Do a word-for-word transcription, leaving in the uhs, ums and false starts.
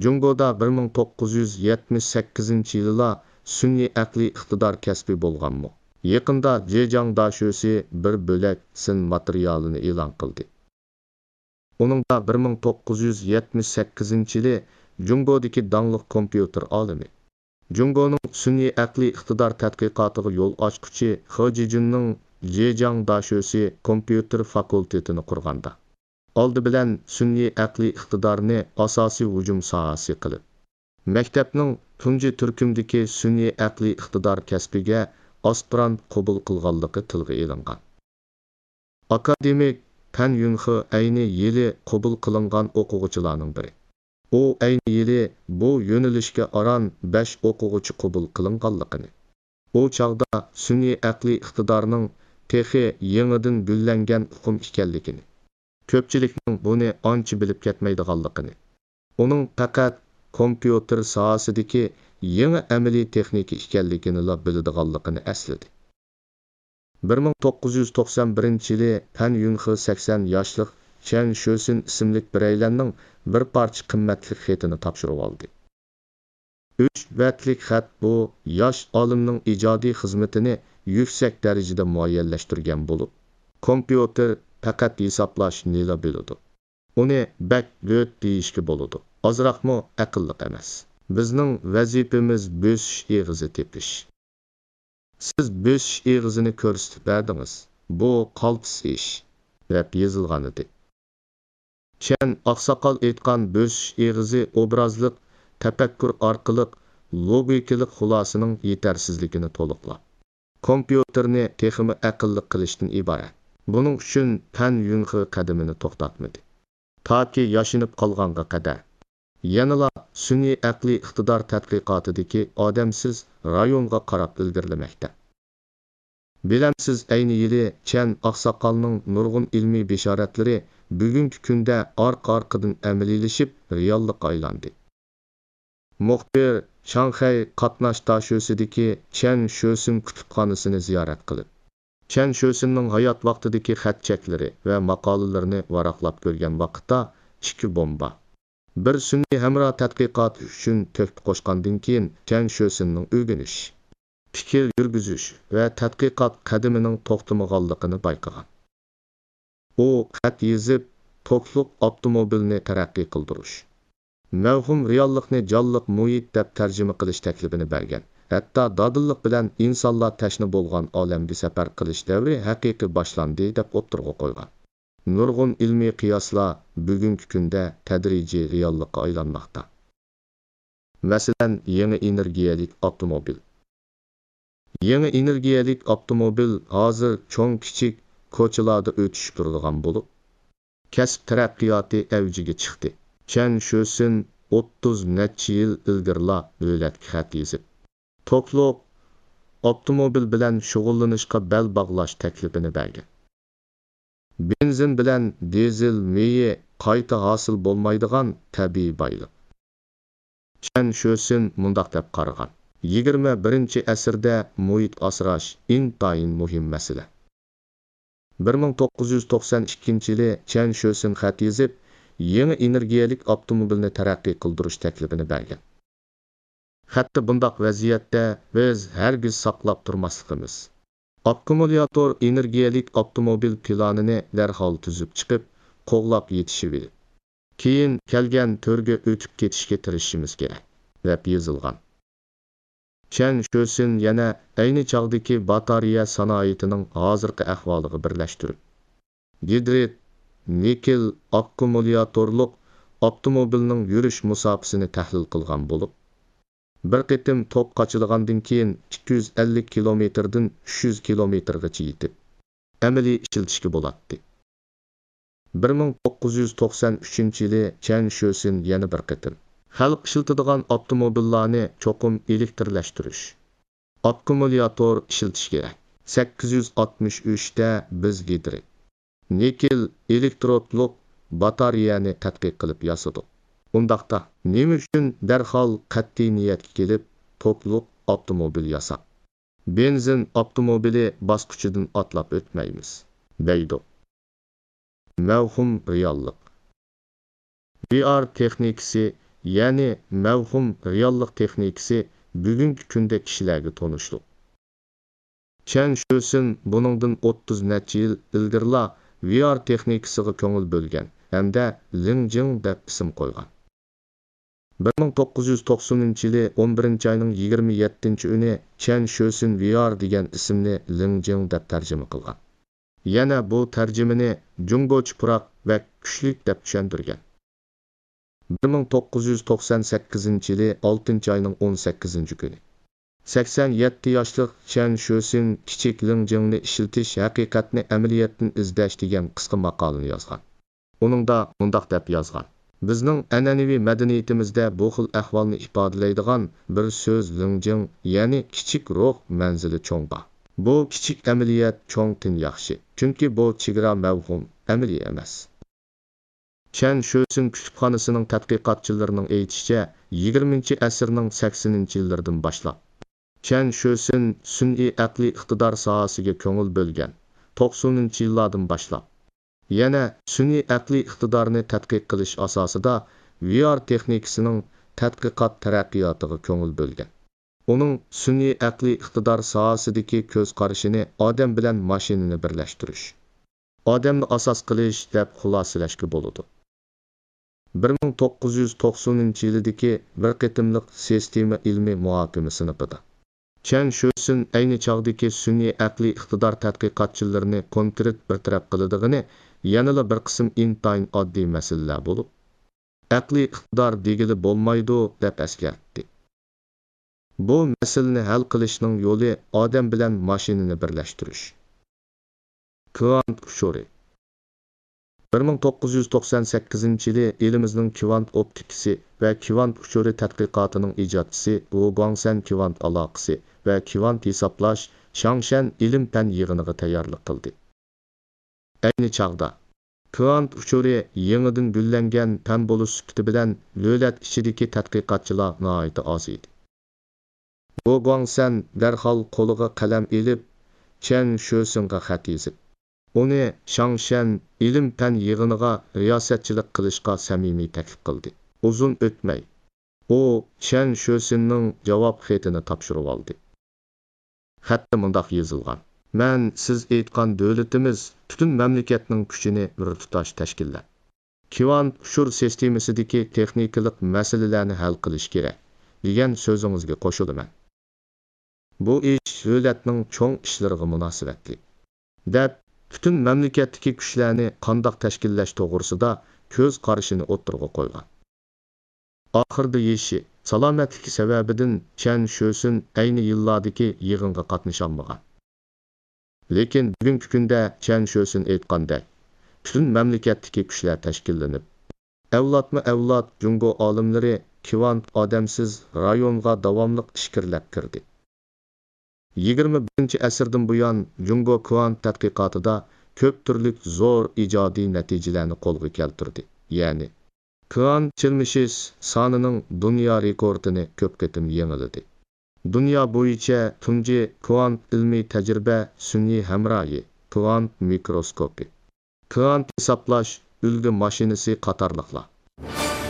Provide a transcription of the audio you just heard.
جۇڭگودا بىر مىڭ توققۇز يۈز يەتمىش سەككىزىنچى يىلىلا سۈنئىي ئەقلىي ئىقتىدار كەسپى بولغانمۇ؟ يېقىندا جېجياڭ داشۆسى بىر بۆلەك سىن ماتېرىيالىنى ئېلان قىلدى. ئۇنىڭدا بىر مىڭ توققۇز يۈز يەتمىش سەككىزىنچى يىلى جۇڭگودىكى داڭلىق كومپيۇتېر ئالىمى، جۇڭگونىڭ سۈنئىي ئەقلىي ئىقتىدار تەتقىقاتىغا يول ئاچقۇچى خې جىجۈننىڭ جېجياڭ داشۆسى كومپيۇتېر فاكۇلتېتىنى قۇرغاندا، ئالدى بىلەن سۈنئىي ئەقلىي ئىقتىدارنى ئاساسىي ھۇجۇم ساھەسى قىلىپ، مەكتەپنىڭ تۇنجى تۈركۈمدىكى سۈنئىي ئەقلىي ئىقتىدار كەسپىگە ئاسپىرانت قوبۇل قىلغانلىقى تىلغا ئېلىنغان. ئاكادېمىك پەن يۈنخې ئەينى يىلى قوبۇل قىلىنغان ئوقۇغۇچىلارنىڭ بىرى. ئۇ ئەينى يىلى بۇ يۆنىلىشكە ئاران بەش ئوقۇغۇچى قوبۇل قىلىنغانلىقىنى، ئۇ چاغدا سۈنئىي ئەقلىي ئىقتىدارنىڭ تېخى يېڭىدىن گۈللەنگەن ئۇقۇم ئىكەنلىكىنى، كۆپچىلىكنىڭ بۇنى ئانچە بىلىپ كەتمەيدىغانلىقىنى، ئۇنىڭ پەقەت كومپيۇتېر ساھەسىدىكى يېڭى ئەمەلىي تېخنىكا ئىكەنلىكىنىلا بىلىدىغانلىقىنى ئەسلىدى. بىر مىڭ توققۇز يۈز توقسان بىرىنچى يىلى پەن يۈنخې سەكسەن ياشلىق چيەن شۆسىن ئىسىملىك بىرەيلەننىڭ بىر پارچە قىممەتلىك خېتىنى تاپشۇرۇۋالدى. ئۈچ بەتلىك خەت بۇ ياش ئالىمنىڭ ئىجادىي خىزمىتىنى يۈكسەك دەرىجىدە مۇئەييەنلەشتۈرگەن بولۇپ، كومپيۇتېر پەقەت ھېسابلاشنىلا بىلىدۇ. ئۇنى بەك دۆت دېيىشكە بولىدۇ، ئازراقمۇ ئەقىللىق ئەمەس. بىزنىڭ ۋەزىپىمىز بۆسۈش ئېغىزى تېپىش. سىز بۆسۈش ئېغىزىنى كۆرسىتىپ بەردىڭىز، بۇ قالتىس ئىش، دەپ يېزىلغانىدى. چيەن ئاقساقال ئېيتقان بۆسۈش ئېغىزى ئوبرازلىق تەپەككۇر ئارقىلىق لوگىكىلىق خۇلاسىنىڭ يېتەرسىزلىكىنى تولۇقلاپ، كومپيۇتېرنى تېخىمۇ ئەقىللىق قىلىشتىن ئىبارەت. بۇنىڭ ئۈچۈن پەن يۈنخې قەدىمىنى توختاتمىدى. تاكى ياشىنىپ قالغانغا قەدەر. يەنىلا سۈنئىي ئەقلىي ئىقتىدار تەتقىقاتىدىكى ئادەمسىز رايونغا قاراپ ئىلگىرىلىمەكتە. بىلەمسىز، ئەينى يىلى چيەن ئاقساقالنىڭ نۇرغۇن ئىلمىي بېشارەتلىرى بۈگۈنكى كۈندە ئارقا-ئارقىدىن ئەمەلىيلىشىپ، رېئاللىققا ئايلاندى. مۇخبىر شاڭخەي قاتناش داشۆسىدىكى چيەن شۆسىن كۇتۇپخانىسىنى زىيارەت قىلىپ، چيەن شۆسىننىڭ ھايات ۋاقتىدىكى خەت-چەكلىرى ۋە ماقالىلىرىنى ۋاراقلاپ كۆرگەن ۋاقىتتا، ئىككى بومبا، بىر سۈنئىي ھەمراھ تەتقىقاتى ئۈچۈن تۆھپە قوشقاندىن كېيىن، چيەن شۆسىننىڭ ئۆگىنىش، پىكىر يۈرگۈزۈش ۋە تەتقىقات قەدىمىنىڭ توختىمىغانلىقىنى بايقىغان. ئۇ خەت يېزىپ، توكلۇق ئاپتوموبىلنى تەرەققىي قىلدۇرۇش، مەۋھۇم رېئاللىقنى جانلىق مۇھىت دەپ تەرجىمە قىلىش تەكلىپىنى بەرگەن. ھەتتا دادىللىق بىلەن ئىنسانلار تەشنا بولغان ئالەمگە سەپەر قىلىش دەۋرى ھەقىقىي باشلاندى، دەپ ئوتتۇرىغا قويغان. نۇرغۇن ئىلمىي قىياسلار بۈگۈنكى كۈندە تەدرىجىي رېئاللىققا ئايلانماقتا. مەسىلەن، يېڭى ئېنېرگىيەلىك ئاپتوموبىل. يېڭى ئېنېرگىيەلىك ئاپتوموبىل ھازىر چوڭ-كىچىك كوچىلاردا ئۆتۈشۈپ تۇرىدىغان بولۇپ، كەسىپ تەرەققىياتى ئەۋجىگە چىقتى. چيەن شۆسىن ئوتتۇز نەچچە يىل ئىلگىرىلا دۆلەتكە خەت يېزىپ، توكلۇق ئاپتوموبىل بىلەن شۇغۇللىنىشقا بەل باغلاش تەكلىپىنى بەرگەن. بېنزىن بىلەن دىزېل مېيى قايتا ھاسىل بولمايدىغان تەبىئىي بايلىق. چيەن شۆسىن مۇنداق دەپ قارىغان: يىگىرمە بىرىنچى ئەسىردە مۇھىت ئاسراش ئىنتايىن مۇھىم مەسىلە. بىر مىڭ توققۇز يۈز توقسان ئىككىنچى يىلى چيەن شۆسىن خەت يېزىپ، يېڭى ئېنېرگىيەلىك ئاپتوموبىلنى تەرەققىي قىلدۇرۇش تەكلىپىنى بەرگەن. خەتتە بۇنداق ۋەزىيەتتە بىز ھەرگىز ساقلاپ تۇرماسلىقىمىز، ئاككۇمۇلياتور ئېنېرگىيەلىك ئاپتوموبىل پىلانىنى دەرھال تۈزۈپ چىقىپ، قوغلاپ يېتىشىۋېلىپ، كېيىن كەلگەن تۈرگە ئۆتۈپ كېتىشكە تىرىشىشىمىز كېرەك، دەپ يېزىلغان. چيەن شۆسىن يەنە ئەينى چاغدىكى باتارېيە سانائىتىنىڭ ھازىرقى ئەھۋالىغا بىرلەشتۈرۈپ، گىدرىت، نىكېل ئاككۇمۇلياتورلۇق ئاپتوموبىلنىڭ يۈرۈش مۇساپىسىنى تەھلىل قىلغان بولۇپ، بىر قېتىم توك قاچىلىغاندىن كېيىن ئىككى يۈز ئەللىك كىلومېتىردىن ئۈچ يۈز كىلومېتىرغىچە يېتىپ، ئەمەلىي ئىشلىتىشكە بولاتتى. بىر مىڭ توققۇز يۈز توقسان ئۈچىنچى يىلى چيەن شۆسىن يەنە بىر قېتىم خەلق ئىشلىتىدىغان ئاپتوموبىللارنى چوقۇم ئېلېكترلەشتۈرۈش، ئاككۇمۇلياتور ئىشلىتىش كېرەك. سەككىز يۈز ئاتمىش ئۈچتە بىز گىدرىت، نىكېل ئېلېكترودلۇق باتارېيەنى تەتقىق قىلىپ ياسىدۇق. ئۇنداقتا، نېمە ئۈچۈن دەرھال قەتئىي نىيەتكە كېلىپ، توكلۇق ئاپتوموبىل ياساپ، بېنزىن ئاپتوموبىلى باسقۇچىدىن ئاتلاپ ئۆتمەيمىز؟ دەيدۇ. مەۋھۇم رېئاللىق. ۋي ئار تېخنىكىسى يەنى مەۋھۇم رېئاللىق تېخنىكىسى بۈگۈنكى كۈندە كىشىلەرگە تونۇشلۇق. چيەن شۆسۈن بۇنىڭدىن ئوتتۇز نەچچە يىل ئىلگىرىلا ۋى ئار تېخنىكىسىغا كۆڭۈل بۆلگەن ھەمدە لىڭجىڭ دەپ ئىسىم قويغان. بىر مىڭ توققۇز يۈز توقسىنىنچى يىلى ئون بىرىنچى ئاينىڭ يىگىرمە يەتتىنچى كۈنى چيەن شۆسۈن ۋى ئار دېگەن ئىسىمنى لىڭجىڭ دەپ تەرجىمە قىلغان. يەنە بۇ تەرجىمىنى جۇڭگوچە پۇراق ۋە كۈچلۈك دەپ چۈشەندۈرگەن. بىر مىڭ توققۇز يۈز توقسان سەككىزىنچى يىلى ئالتىنچى ئاينىڭ ئون سەككىزىنچى كۈنى سەكسەن يەتتە ياشلىق چيەن شۆسۈن كىچىك لىڭجىڭنى ئىشلىتىش ھەقىقەتنى ئەمەلىيەتتىن ئىزدەش دېگەن قىسقا ماقالىنى يازغان. ئۇنىڭدا مۇنداق دەپ يازغان: بىزنىڭ ئەنئەنىۋى مەدەنىيىتىمىزدە بۇ خىل ئەھۋالنى ئىپادىلەيدىغان بىر سۆز لىڭجىڭ، يەنى كىچىك روھ مەنزىلى چوڭ بار. بۇ كىچىك ئەمەلىيەت چوڭ تىن ياخشى، چۈنكى بۇ چېگرا مەۋھۇم، ئەمەلىي ئەمەس. چيەن شۆسۈن كۇتۇپخانىسىنىڭ تەتقىقاتچىلىرىنىڭ ئېيتىشىچە، يىگىرمىنچى ئەسىرنىڭ سەكسىنىنچى يىللىرىدىن باشلاپ، چيەن شۆسۈن سۈنئىي ئەقلىي ئىقتىدار ساھەسىگە كۆڭۈل بۆلگەن. توقسىنىنچى يىللاردىن باشلاپ، يەنە سۈنئىي ئەقلىي ئىقتىدارنى تەتقىق قىلىش ئاساسىدا ۋى ئار تېخنىكىسىنىڭ تەتقىقات تەرەققىياتىغا كۆڭۈل بۆلگەن. ئۇنىڭ سۈنئىي ئەقلىي ئىقتىدار ساھەسىدىكى كۆز قارىشىنى ئادەم بىلەن ماشىنىنى بىرلەشتۈرۈش، ئادەمنى ئاساس قىلىش دەپ خۇلاسىلەشكە بولىدۇ. بىر مىڭ توققۇز يۈز توقسىنىنچى يىلىدىكى بىر قېتىملىق سىستېما ئىلمىي مۇھاكىمە سىنىپىدا، چيەن شۆسۈن ئەينى چاغدىكى سۈنئىي ئەقلىي ئىقتىدار تەتقىقاتچىلىرىنى كونكرېت بىر تەرەپ قىلىدىغىنى يەنىلا بىر قىسىم ئىنتايىن ئاددىي مەسىلىلەر بولۇپ، ئەقلىي ئىقتىدار دېگىلى بولمايدۇ، دەپ ئەسكەرتتى. بۇ مەسىلىنى ھەل قىلىشنىڭ يولى ئادەم بىلەن ماشىنىنى بىرلەشتۈرۈش. كۋانت ئۇچۇرى. بىر مىڭ توققۇز يۈز توقسان سەككىزىنچى يىلى ئېلىمىزنىڭ كۋانت ئوپتىكىسى ۋە كۋانت ئۇچۇرى تەتقىقاتىنىڭ ئىجادچىسى ۋۇ گۇاڭسەن كۋانت ئالاقىسى ۋە كۋانت ھېسابلاش شاڭشەن ئىلىم-پەن يىغىنىغا تەييارلىق قىلدى. ئەينى چاغدا، كۋانت ئۇچۇرى يېڭىدىن گۈللەنگەن پەن بولۇش سۈپىتى بىلەن دۆلەت ئىچىدىكى تەتقىقاتچىلار ناھايىتى ئاز ئىدى. بو گۇاڭسەن دەرھال قولىغا قەلەم ئېلىپ، چيەن شۆسىڭغا خەت يېزىپ، ئۇنى شاڭشەن ئىلىم-پەن يىغىنىغا رىياسەتچىلىك قىلىشقا سەمىمىي تەكلىپ قىلدى. ئۇزۇن ئۆتمەي، ئۇ چيەن شۆسىننىڭ جاۋاب خېتىنى تاپشۇرۇۋالدى. خەتتە مۇنداق يېزىلغان: مەن سىز ئېيتقان دۆلىتىمىز پۈتۈن مەملىكەتنىڭ كۈچىنى بىر تۇتاش تەشكىللەپ، كۋانت ئۇچۇر سىستېمىسىدىكى تېخنىكىلىق مەسىلىلەرنى ھەل قىلىش كېرەك، دېگەن سۆزىڭىزگە قوشۇلىمەن. بۇ ئىش دۆلەتنىڭ چوڭ ئىشلىرىغا مۇناسىۋەتلىك، دەپ، پۈتۈن مەملىكەتتىكى كۈچلەرنى قانداق تەشكىللەش توغرىسىدا كۆز قارىشىنى ئوتتۇرىغا قويغان. ئاخىرىدا يېشى، سالامەتلىكى سەۋەبىدىن چيەن شۆسۈن ئەينى يىللاردىكى يىغىنغا قاتنىشالمىغان. لېكىن بۈگۈنكى كۈندە چيەن شۆسۈن ئېيتقاندەك، پۈتۈن مەملىكەتتىكى كۈچلەر تەشكىللىنىپ، ئەۋلادمۇ ئەۋلاد جۇڭگو ئالىملىرى كۋانت ئادەمسىز رايونغا داۋاملىق ئىچكىرىلەپ كىردى. يىگىرمە بىرىنچى ئەسىردىن بۇيان، جۇڭگو كۋانت تەتقىقاتىدا كۆپ تۈرلۈك زور ئىجادىي نەتىجىلەرنى قولغا كەلتۈردى. يەنى، كۋانت چىرمىشىش سانىنىڭ دۇنيا رېكورتىنى كۆپ قېتىم يېڭىلىدى. دۇنيا بويىچە تۇنجى كۋانت ئىلمىي تەجرىبە سۈنئىي ھەمراھى، كۋانت مىكروسكوپى، كۋانت ھېسابلاش ئۈلگە ماشىنىسى قاتارلىقلار.